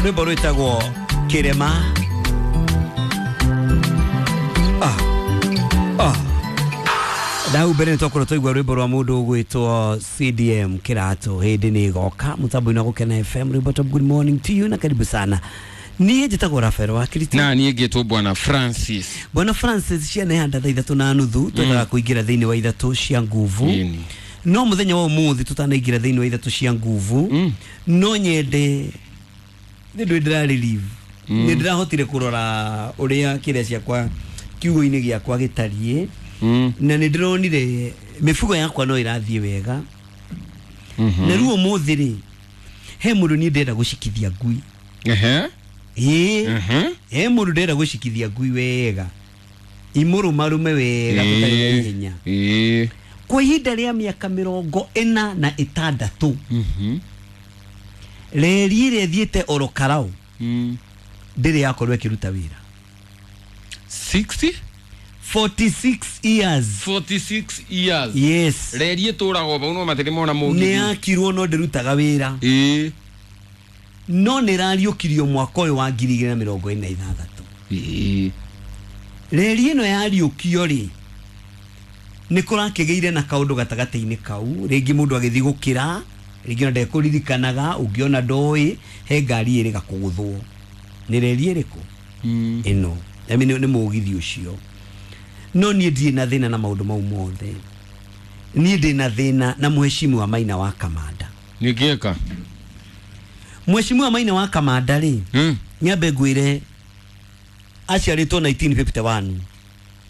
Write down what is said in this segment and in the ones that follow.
Rwĩmbo rwĩtagwo Kĩrema. Ndau mbere nĩtwakorwo twaigua rwĩmbo rwa mũndũ ũgwĩtwo CDM Kĩratũ hĩndĩ nĩ ĩgoka mũtambo-inĩ wa Gũkena FM. Rwĩmbo top. Good morning to you na karibu sana. Niĩ njĩtagwo Rafael wa Kirito na niĩ ngĩtwo Bwana Francis. Bwana Francis, ciana ihanda thaa 3:30 twendaga kũingĩra thĩinĩ wa ithatũ cia nguvu. No mũthenya wa ũmũthĩ tũtanaingĩra thĩinĩ wa ithatũ cia nguvu, no nyende nĩ ndũ ndĩra relieve. Nĩ ndĩrahotire kũrora ũrĩa kĩrĩa ciakwa kiugo-inĩ gĩakwa gĩtariĩ, na nĩ ndĩronire mĩbugo yakwa no ĩrathiĩ wega. Na rĩu ũmũthĩ rĩ, he mũndũ niĩ ndĩrenda gũcikithia ngui. Ĩĩ, he mũndũ ndĩrenda gũcikithia ngui wega, imũrũmarume wega tũtarĩ na ihenya. Kwa ihinda rĩa mĩaka 46, reri ĩrĩa ĩthiĩte oro karau ndĩrĩ yakorwo ĩkĩruta wĩra. 60? 46 years. 46 years. Yes. Reri ĩtũragwo vau no matirĩ mona mũgithi. Nĩ yakirwo no ndĩrutaga wĩra. No nĩ ĩrariũkirio mwaka ũyũ wa 2026. Reri ĩno yariũkio rĩ, nĩ kũrakĩgĩire na kaũndũ gatagatĩ-inĩ kau, rĩngĩ mũndũ agĩthiĩ gũkĩra, rĩngĩ ona ndekũririkanaga, ũngĩona ndoĩ, he ngari ĩrĩga kũgũthwo. Nĩ reri ĩrĩkũ? Ĩno. I mean, nĩ mũgithi ũcio. No niĩ ndirĩ na thĩna na maũndũ mau mothe. Niĩ ndĩ na thĩna na mheshimiwa Maina wa Kamanda. Nĩkĩka? Mheshimiwa Maina wa Kamanda rĩ, nyambe ngwĩre aciarĩtwo 1951.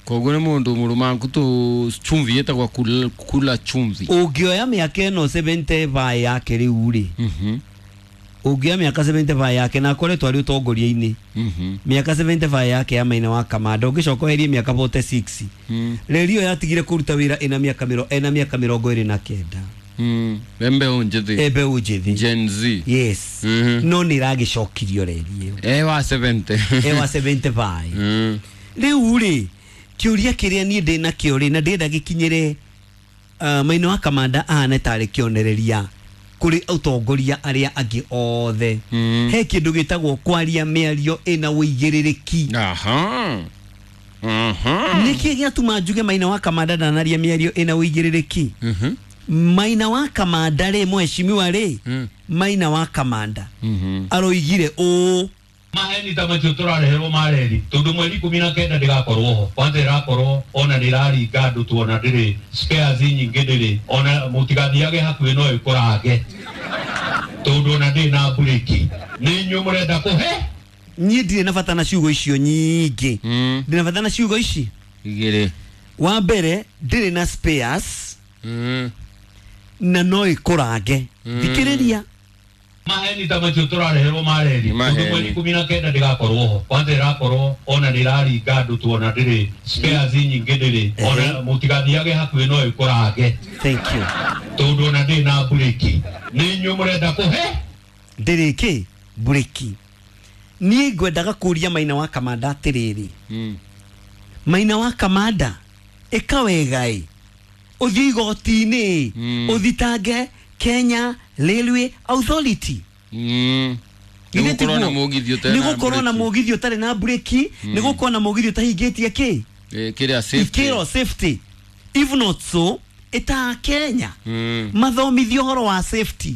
Koguo nĩ mũndũ mũrũmangu tu chumvi yetagwo kula chumvi. Ũngĩoya mĩaka ĩno 75 yake rĩu rĩ, ũngĩoya mĩaka 75 yake na akoretwo arĩ ũtongoria-inĩ, mĩaka 75 yake ya Maina wa Kamanda, ũngĩcoka ũherie mĩaka 46, reri ĩyo yatigire kũruta wĩra ĩna mĩaka 29. Mbeũ njĩthĩ. Mbeũ njĩthĩ. Gen Z. Yes. No nĩ ĩragĩcokirio reri ĩyo. Ewa 70. Ewa 75. Rĩu rĩ, kĩũria kĩrĩa niĩ ndĩ nakĩo rĩ, na ndĩrenda gĩkinyĩre Maina wa Kamanda ahane tarĩ kĩonereria kũrĩ ũtongoria arĩa angĩ othe. He kĩndũ gĩtagwo kwaria mĩario ĩna ũigĩrĩrĩki. Nĩkĩ gĩatũma njuge Maina wa Kamanda ndanaria mĩario ĩna ũigĩrĩrĩki? Maina wa Kamanda rĩ, mheshimiwa rĩ, Maina wa Kamanda aroigire ũũ: maheni ta macio tũrareherwo ma reri tondũ mweri 19 ndĩgakorwo ho, kwanza ĩrakorwo ona nĩ ĩraringa andũ tuona ndĩrĩ spares nyingĩ, ndĩrĩ ona mũtigathiage hakuhĩ no ĩkũrange tondũ ona ndĩrĩ na mburĩki. Nĩ inyuĩ mũrenda kũhe. Niĩ ndirĩ na bata na ciugo icio nyingĩ. Ndĩ na bata na ciugo ici igĩrĩ. Wa mbere, ndĩrĩ na spares na no ĩkũrange. Thikĩrĩria. Maheni ta macio tũrareherwo ma reri tondũ mweri 19 ndĩgakorwo ho, kwanza ĩrakorwo ona nĩ ĩraringa andũ tuona ndĩrĩ spares nyingĩ, ndĩrĩ ona mũtigathiage hakuhĩ no ĩkũrange. Thank you. Tondũ ona ndĩrĩ na mburĩki. Nĩ inyuĩ mũrenda kũhe. Ndĩrĩ kĩ? Mburĩki. Niĩ ngwendaga kũria Maina wa Kamanda atĩrĩrĩ, Maina wa Kamanda, ĩka wega ĩ, ũthiĩ igoti-inĩ, ũthitange Kenya Railway Authority. Nĩ gũkorwo na mũgithi ũtarĩ na mburĩki, nĩ gũkorwo na mũgithi ũtahingĩtie kĩ? Kĩrĩa safety. Ikĩro safety. If not so, ĩta Kenya mathomithio ũhoro wa safety.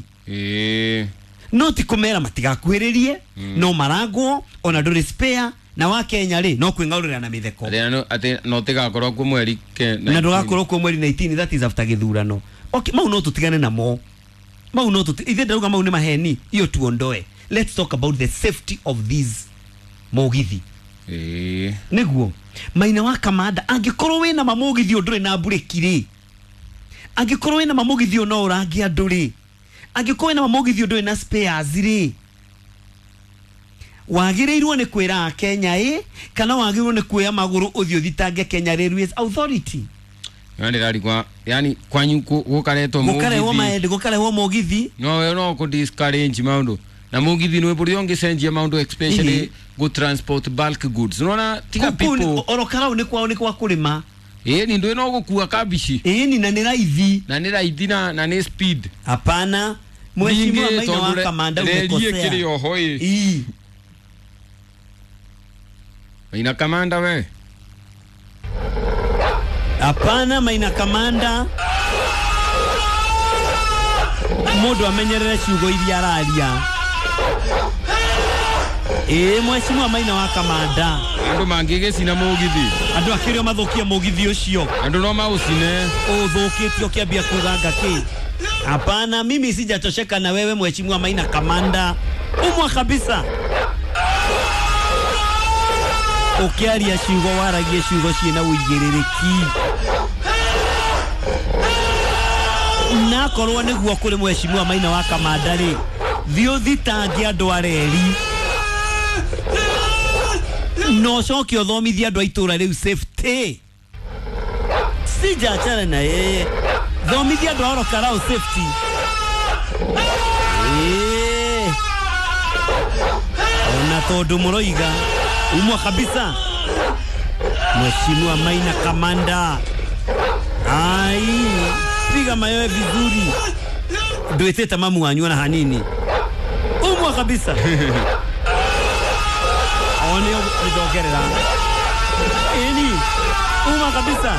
No ti kũmera matigakuhĩrĩrie, no marangwo ona ndũrĩ spare, na wa Kenya rĩ no kwĩng'aũrĩra na mĩtheko. Atĩ no tigakorwo kuo mweri na ndũgakorwo kuo mweri 19, that is after gĩthurano. Okay, mau no tũtigane namo. Mau no ithe ndauga mau nĩ maheni, iyo tuondoe. Let's talk about the safety of these mũgithi. Nĩguo Maina wa Kamanda, angĩkorwo wĩna mamũgithi ũndũrĩ na mburĩki rĩ, angĩkorwo wĩna mamũgithi no ũrange andũ rĩ, angĩkorwo wĩna mamũgithi ũndũrĩ na spares rĩ, wagĩrĩirwo nĩ kwĩra Kenya ĩ, kana wagĩrĩirwo nĩ kuoya magũrũ ũthiĩ ũthitange Kenya Railways Authority. Yani kwanyu gũkaretwo mũgithi, gũkarehwo mũgithi, no we no kũ discourage maũndũ na mũgithi nĩ bũrũri ũngĩcenjia maũndũ, especially go transport bulk goods. Unaona tiga people oro karau nĩ kwao nĩ kwa kũrĩma. Ni ndio no gũkua kabici. Ni na nĩ raithi. Na nĩ raithi na nĩ speed. Hapana. Mheshimiwa Ningĩ Maina wa tondũ Kamanda reri umekosea. ĩkĩrĩ oho ĩ. Ii. Maina Kamanda we. Hapana Maina Kamanda, mundu amenyerere ciugo iria araria. Ĩĩ Mheshimiwa Maina wa Kamanda, Andũ mangĩgĩcina mũgithi. Andũ akĩrĩ o mathũkie mũgithi ũcio. Andũ no maũcine. Ũthũkĩtio ũkĩambia kuga ngakĩ. Hapana, mimi sijatosheka na wewe Mheshimiwa Maina Kamanda, umwa kabisa. Ũkĩaria ciugo waragie ciugo ciĩna ũigĩrĩrĩki. Na korwo nĩguo kũrĩ Mheshimiwa Maina wa Kamanda rĩ, thiĩ ũthitange andũ a reri na ũcoke ũthomithie andũ a itũra rĩu safety. Sijaachana na yeye, thomithia andũ a Orokarau safety. Ĩĩ. Ona tondũ mũroiga umwa kabisa. Mheshimiwa Maina Kamanda, ai piga mayowe vizuri, ndwĩtĩte mamu wanyu ona hanini, umwa kabisa. One nĩndongerera ĩni, uma kabisa.